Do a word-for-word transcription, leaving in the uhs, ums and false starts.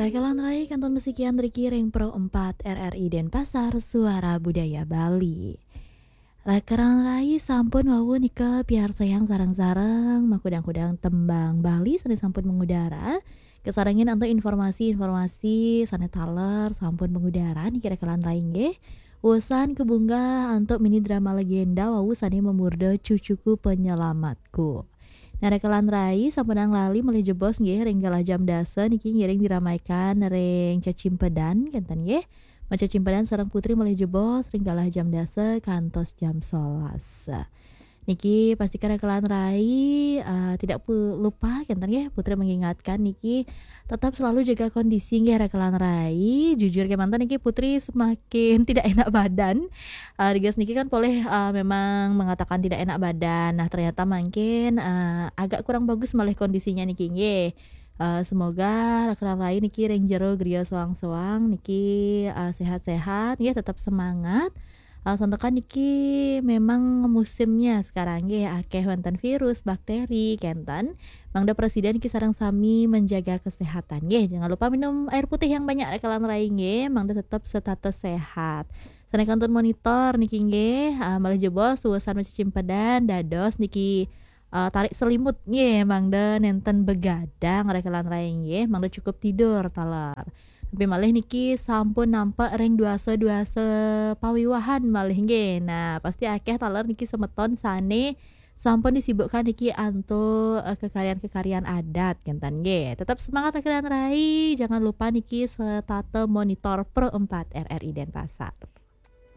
Rekelan rai kantun masikian riki ring Pro empat R R I Denpasar, Suara Budaya Bali. Rekelan rai sampun wau nika piarsayang sareng-sareng makudang-kudang tembang Bali sane sampun mengudara. Kasarengin antuk informasi-informasi sane taler sampun mengudara niki rekelan rai nggih. Wusan kabunggah antuk mini drama legenda wau sane mamurda Cucuku Penyelamatku. Nah, rekelan rai sampunang lali malih jebos nggih ring galah jam dasa niki ngiring diramaikan ring cecimpedan kenten nggih. Macecimpedan sareng Putri malih jebos ring galah jam dasa kantos jam solas. Niki pastika rekelan rai, eh, tidak pu-, lupa kenten nggih Putri mengingatkan niki tetap selalu jaga kondisi nggih rekelan rai. Jujur kemanten niki Putri semakin tidak enak badan. Eh, rigas niki kan polih, eh, memang mengatakan tidak enak badan. Nah, ternyata mungkin, eh, agak kurang bagus malih kondisinya niki nggih. Eh, semoga rekelan rai niki ring jero griya soang-soang niki, eh, sehat-sehat nggih, tetap semangat. Eh, santukan niki memang musimnya sekarang nggih, akeh wonten virus, bakteri kenten. Mangda prasida niki sareng sami menjaga kesehatan nggih. Jangan lupa minum air putih yang banyak rekelan rai nggih, mangda tetap setata sehat. Sane kantun monitor niki nggih, eh, malih jebos wusan macecimpedan dados niki, eh, tarik selimut nggih, mangda nenten begadang rekelan rai nggih, mangda cukup tidur taler. Tapi malih niki sampun nampak ring duasa-duasa pawiwahan malih nggih. Nah, pasti akeh taler niki semeton sane sampun disibukkan niki antuk, eh, kekaryan-kekaryan adat kenten nggih. Tetap semangat rekelan rai, jangan lupa niki setata monitor Pro empat R R I Denpasar.